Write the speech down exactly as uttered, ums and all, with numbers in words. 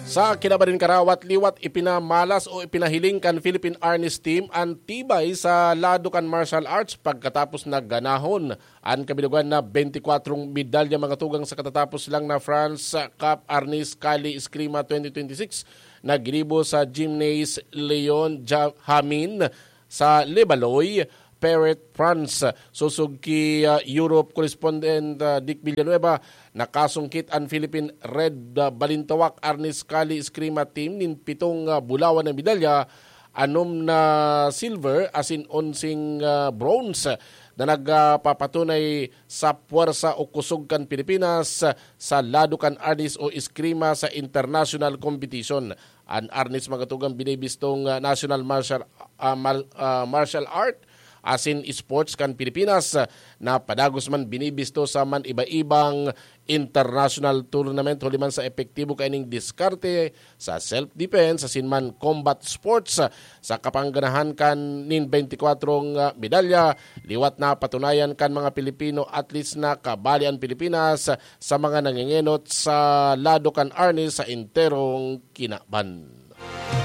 Sa kinaban nin karawat, liwat ipinamalas o ipinahiling kan Philippine Arnis Team an tibay sa lado kan martial arts pagkatapos na ganahon an kabilugan na twenty-four medalya, mga tugang, sa katatapos lang na France Cup Arnis Kali Eskrima twenty twenty-six na ginibo sa Gymnase Leon Ja-, Hamin sa Levallois, Perret, France. Sosog ki, ah, Europe correspondent, ah, Dick Villanueva, nakasungkit an Philippine Red, ah, Balintawak Arnis Kali Eskrima Team nin pitong, ah, bulawan na medalya, anom na silver asin onseng, ah, bronze, na nagpapatunay sa puwersa o kusog kan Pilipinas sa lado kan arnis o eskrima sa international competition. An arnis, mga tugang, binibistong, ah, national martial, ah, mal-, ah, martial art asin sports kan Pilipinas, ah, na padagos man binibisto sa man iba-ibang international tournament, huli man sa epektibo kaining diskarte sa self-defense asin man combat sports, ah, sa kapangganahan kan nin twenty-four, ah, medalya. Liwat na patunayan kan mga Pilipino athletes na kabali an Pilipinas sa mga nangengenot sa lado kan arnis sa enterong kinaban.